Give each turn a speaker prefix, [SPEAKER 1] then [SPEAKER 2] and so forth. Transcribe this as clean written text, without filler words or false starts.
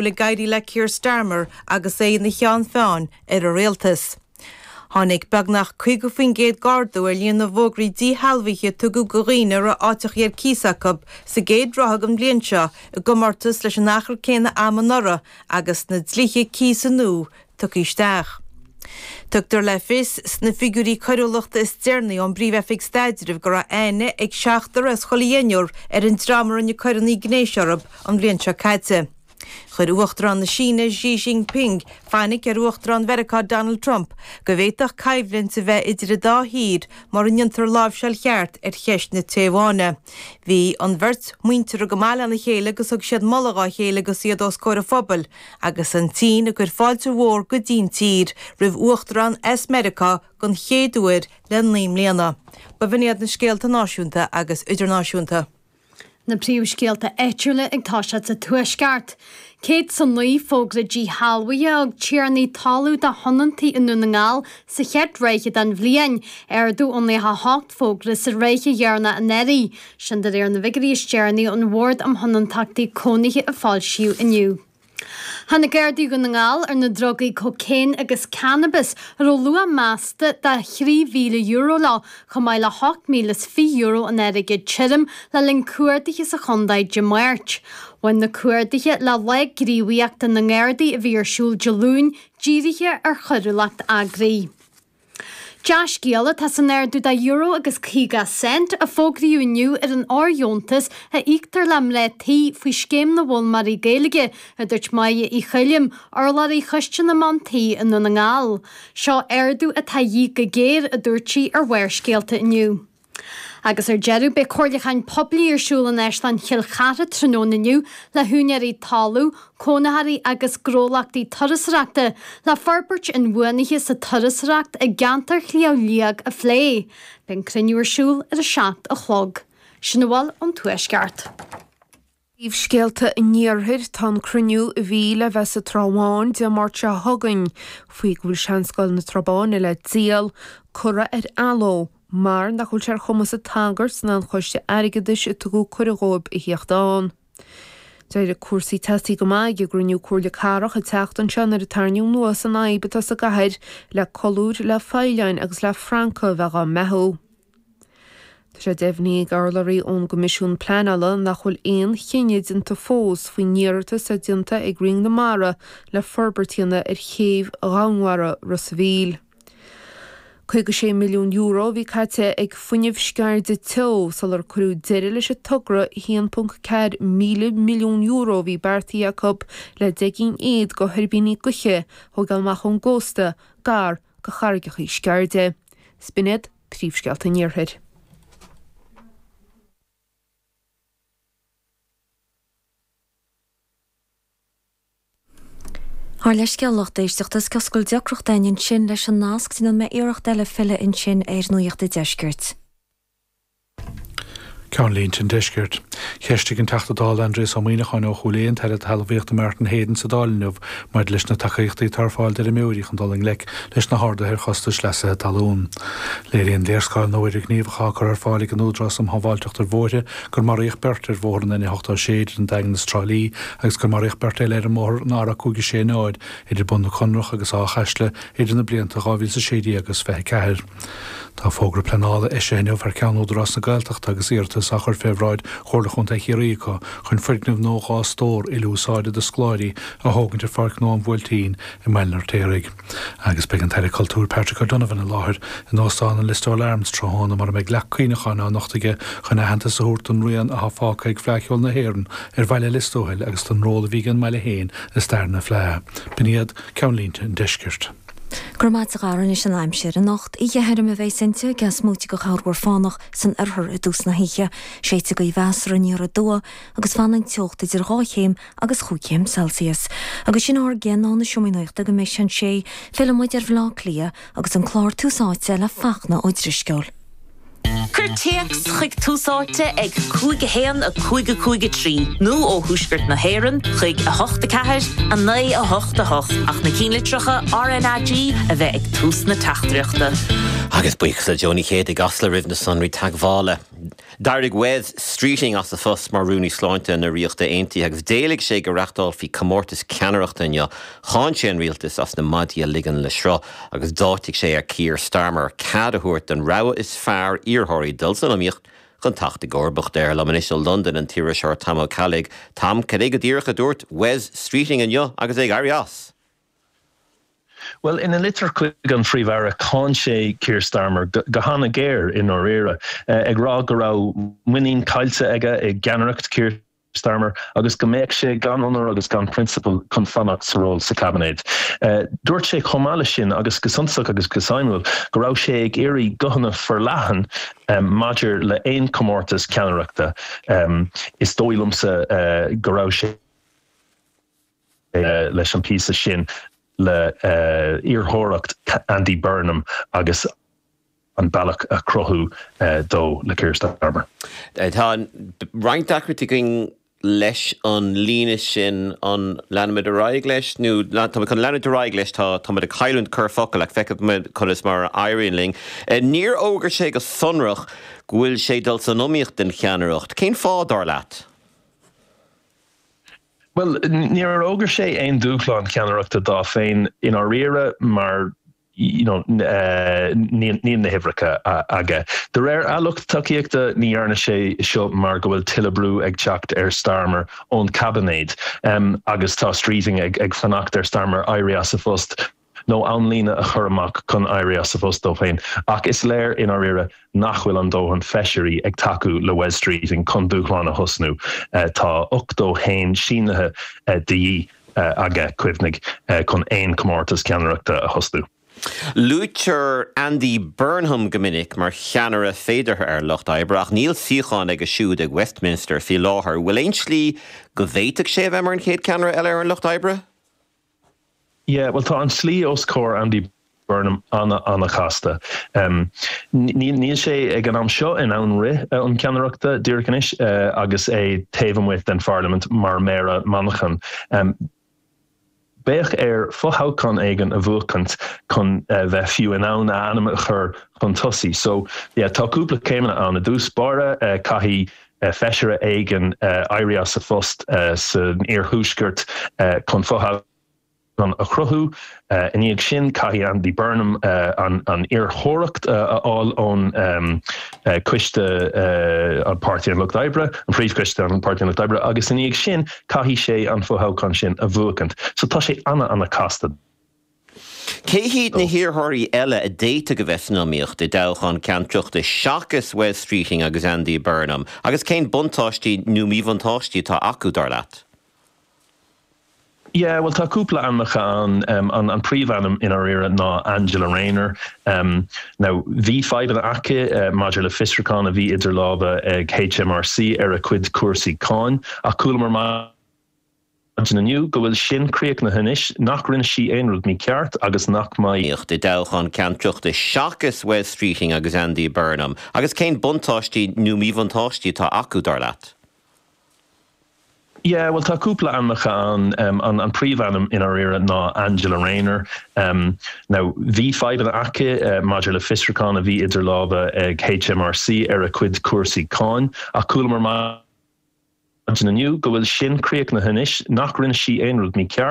[SPEAKER 1] Bhfuil ag éirí le Keir Starmer agus é ina cheann feadhain ar an rialtas. Tháinig beagnach 50% d'ardú ar líon na bhfógraí díshealbhaithe a tugadh do dhaoine a raibh áiteachaí ar cíos acu sa gcéad ráithe den bhliain seo i gcomórtas leis an achar céanna ama anuraidh agus na dlíthe cíosa nua tugtha isteach. Tugtar le fios sna figiúirí coiriúlachta is deireanaí ón bPríomh-Oifig Staidrimh go raibh aithne ag seachtar as chuile dheichniúr ar an dream a rinne coireanna gnéis orthu an bhliain seo caite. Chuir Uachtarán na Síne Xi Jinping fainic ar Uachtarán Mheiriceá Donald Trump go bhféadfadh coimhlint a bheith idir an dá thír mura ndéantar láimhseáil cheart ar cheist na Téaváine. Bhí an bheirt muinteartha go maith lena chéile agus thug siad moladh dhá chéile agus iad os comhair an phobail agus an tSín ag cur fáilte mhór go dtí'n tír roimh uachtarán as Meiriceá den chéad uair le 9 mbliana. B'in iad na scéalta náisiúnta agus idirnáisiúnta.
[SPEAKER 2] Na príomhscéalta áitiúla ag toiseacht sa Tuaisceart. 109 fógra díshealbhaithe a thug tiarnaí talún do thionóntaí i nDún na nGall sa chéad ráithe den bhliain, ardú ó 98 fógra sa ráithe dheireanach anuraidh. Sin de réir na bhfigiúirí is deireanaí ón Bhord um Thionóntachtaí Cónaithe a foilsíodh inniu. Tháinig Gardaí Dhún na nGall ar na drugaí cócaon agus cannabas a raibh luach measta de €3,000 leo, chomh maith le €8,020 in airgead tirim le linn cuardaithe sa chontae Dé Máirt. Bhain na cuardaithe le Lá Gníomhaíochta na nGardaí a bhí ar siúl Dé Luain dírithe ar choiriúlacht eagraithe. Dea-scéala atá san ardú de euro agus 50 cent a fógraíodh inniu ar an fhóirdheontas a íoctar le mná tí faoi Scéim na bhFoghlaimeoirí Gaeilge, a dúirt Máire Uí Choilm, urlabhraí Choiste na mBean Tí i nDún na nGall. Seo ardú atá a dhíth go géar, a dúirt sí ar Bharrscéalta inniu. Agus ar deireadh, beidh comhairliúcháin poiblí ar siúl in Áislann Chill Chartha tráthnóna inniu le húinéirí talún, cónaitheoirí agus gnólachtaí turasóireachta le forbairt inbhuanaithe sa turasóireacht i gceantar Shliabh Liag a phlé. Beidh an cruinniú ar siúl ar a 7 a chlog. Sin a bhfuil ón Tuaisceart.
[SPEAKER 3] Príomhscéalta an Iarthair, Tá an cruinniú a bhí le bheith sa Trá Bháin Dé Máirt seo chugainn, faoi go bhfuil Seanscoil na Trá Báine le díol, curtha ar athló mar nach bhfuil sé ar chumas an tsagairt ná an choiste airgeadais a tugadh cuireadh dhóibh a thíocht ann. D'éirigh cúrsaí teasaí go maith ag an gcruinniú Comhairle Cathrach an tseachtain seo nuair a tarraingíodh anuas an fhadhb atá sa gcathair le colúir, le folláin agus le francaigh a bheith dhá mbeathú. Tá sé deimhnithe ag urlabhraí ón gCoimisiún Pleanála nach bhfuil aon chinneadh déanta fós faoin iarratas atá déanta ag Roinn na Mara le forbairt a dhéanamh ar chéibh dhomhainmhara Ros a' Mhíl. €56 milliún a bhí caite ag Fuinneamh Sceirde Teo sular cuireadh deireadh leis an togra €1.4 míle milliún a bhí beartaithe acu le 10 gcinn fhichead de thuirbíní gaoithe a thógáil amach ón gcósta gar do charraigeacha Sceirde. 'S b'in iad príomhscéalta an Iarthair.
[SPEAKER 4] Ár leithscéal lucht éisteachta is cosúil go bhfuil deacracht againn ansin leis an nasc, déanfaidh mé iarracht eile filleadh ansin ar Nuacht an Deiscirt.
[SPEAKER 5] Ceannlínte an Deiscirt. Cheistigh an Teachta Dála Aindrias Ó Muimhneacháin ó Chúil Aodha an tAire Talmhaíochta Martin Heydon sa Dáil inniu maidir leis na tacaíochtaí atá ar fáil d'fheirmeoirí chun dul i ngleic leis na harduithe ar chostais leasaithe talún. Léiríonn léarscáil nua idirghníomhach atá curtha ar fáil ag an Údarás um Shábháilteacht ar Bhóithre gur maraíodh beirt ar bhóthar an N86 idir an Daingean is Trá Lí agus gur maraíodh beirt eile ar an mbóthar an R560 idir Bun na Conrach agus Áth Chaisle idir na blianta 2016 agus 24. Tá fógra pleanála eisithe inniu thar ceann Údarás na Gaeltachta agus iarratas á chur fé bhráid Chomhairle Chontae Chiarraí acu chun foirgneamh nua 2 stór uile-úsáide do scoláirí a thógaint ar Pháirc Nua an Bhuailtín i mBaile an Fheirtéaraigh. Agus beidh an Taire Cultúir Patrick O'Donovan i láthair in Óstán an Listowel Arms tráthnóna mar a mbeidh leac cuimhneacháin á nochtadh aige chun aitheantas a thabhairt don rian atá fágtha ag Fleadh Cheoil na hÉireann ar bhaile Lios Tuathail agus don ról a bhí ag an mbaile féin i stair na Fleadh. B'in iad ceannlínte an deiscirt.
[SPEAKER 4] Go raibh maith agat a Dhara anois an aimsir. Anocht, oíche thirim a bheas inti, ag smúite de chorrmhúr fánach san oirthear i dtús na hoíche. Séidfidh gaoth mheasartha aniar aduaidh agus fanfaidh an teocht idir 2 chéim agus chúig chéim Celsius. Agus sin ár gcionn ó na Seomraí Nuachta go mbeidh sé an sé, filleann muid ar Bhaile Átha Cliath agus an clár Tús Áite le Fachtna Ó Drisceoil.
[SPEAKER 6] Cuir téacs chuig Tús Áite ag 5 1 5 5 3 nó ó thuaisceart na hÉireann chuig 8 4 9 8 8 ach na cinnlitreacha RnaG a bheith ag tús na teachtaireachta.
[SPEAKER 7] Agus buíochas le Joe Ní Chéide i gCasla roimh na sonraí teagmhála. D'éirigh Wes Streeting as a phost mar Rúnaí Sláinte na Ríochta Aontaithe agus d'éiligh sé go reachtálfaí comórtas ceannaireachta inniu. Cháin sé an rialtas as na maidí a ligean le sruth agus d'áitigh sé ar Keir Starmer cead a thabhairt don rogha is fearr iarrthóirí dul san iomaíocht chun teacht i gcomharbacht air. Liom anois ó Londain an t-iriseoir Tom Ó Ceallaigh. Tom, cad é go díreach a dúirt Wes Streeting inniu agus é ag éirí as?
[SPEAKER 8] Bhuel, ina litir chuig an Phríomh-Aire, cháin sé Keir Starmer go han-ghéar i ndáiríre, ag rá go raibh muinín caillte aige i gceannaireacht Keir Starmer agus go mbeadh sé gan onóir agus gan prionsabal chun fanacht sa ról sa Chaibinéad. Dúirt sé chomh maith leis sin, agus go suntasach agus go suimiúil, go raibh sé ag iarraidh guthanna forleathan maidir le aon chomórtas ceannaireachta. Is dóigh liomsa go raibh sé. leis an píosa sin le iarrthóireacht Andy Burnham agus an bealach a chruthú dó le Keir Starmer.
[SPEAKER 7] Tá roinnt deacrachtaí againn leis an líne sin, an leanfaimid ar aghaidh leis nó tá muid chun leanúint ar aghaidh leis, tá táimid ag cailliúint corrfhocal ach feicfidh muid conas mar a éiríonn linn. Níor fhógair sé go sonrach go bhfuil sé ag dul san iomaíocht don cheannaireacht. Cén fáth, dar leat?
[SPEAKER 8] Bhuel, níor fhógair sé aon dúshlán ceannaireachta dó féin i ndáiríre mar you know níl na huimhreacha aige. De réir a lucht tacaíochta, ní dhearna sé seo mar go bhfuil tuilleadh brú ag teacht ar Starmer ón chaibinéad agus tá Streeting ag fanacht ar Starmer éirí as a phost. nó amlíne a chur amach chun éirí as a phost dó féin, ach is léir i ndáiríre nach bhfuil an dóthain feisirí ag tacú le Wes Streeting chun dúshlán a thosnú. Tá 81 sínithe de dhíth aige, cuimhnigh, chun aon chomórtas ceannaireachta a thosnú.
[SPEAKER 7] Luaitear Andy Burnham go minic mar cheannaire féideartha ar Lucht Oibre ach níl suíochán aige siúd ag Westminster faoi láthair. Bhfuil aon tslí go bhféadfadh sé a bheith mar an chéad cheannaire eile ar an Lucht Oibre?
[SPEAKER 8] Yeah, bhuel tá an tslí os comhair Andy Burnham ana-ana-chasta. Níl sé ag an am seo in ann rith chun ceannaireachta díreach anois agus é taobh amuigh den pharlaimint mar Méara Manchain. Bheadh air fothoghchán éigin a bhuachaint chun bheith fiú in ann a ainm a chur chun tosaigh. So, yeah, tá cúpla céimeanna ann. I dtús báire, caithfidh feisire éigin éirí as a phost san iarthuaisceart chun fothoghchán a chruthú. I ndiaidh sin, caithfidh Andy Burnham an iarrthóireacht a fháil ón Coiste an Páirtí an Lucht Oibre, an Príomhchoiste an Páirtí an Lucht Oibre, agus i ndiaidh sin, caithfidh sé an fothoghchán sin a bhuachaint. So tá sé ana-ana-chasta.
[SPEAKER 7] Cé hiad na hiarrthóirí eile a d'fhéadfadh a bheith san iomaíocht i dtoghchán ceannaireachta seachas Wes Streeting agus Andy Burnham, agus cén buntáistí nó míbhuntáistí atá acu, dar leat?
[SPEAKER 8] Yeah, bhuel tá cúpla ainmneacha ann. An príomhainm i ndáiríre ná Angela Rayner. Now bhí fadhbanna aici maidir le fiosrúchán a bhí idir lámha ag HMRC ar a cuid cúrsaí cáin, ach chualamar maidin inniu go bhfuil sin críochnaithe anois, nach rinne sí aon rud mícheart agus nach mbeidh.
[SPEAKER 7] iomaíocht i dtoghchán ceannaireachta seachas Wes Streeting agus Andy Burnham, agus cén buntáistí nó míbhuntáistí atá acu, dar leat?
[SPEAKER 8] Yeah, bhuel tá cúpla ainmneacha ann. An príomhainm i ndáiríre ná Angela Rayner. Now bhí fadhbanna aici maidir le fiosrúchán a bhí idir lámha ag HMRC ar a cuid cúrsaí cáin, ach chualamar maidin inniu go bhfuil sin críochnaithe anois, nach rinne sí aon rud mícheart.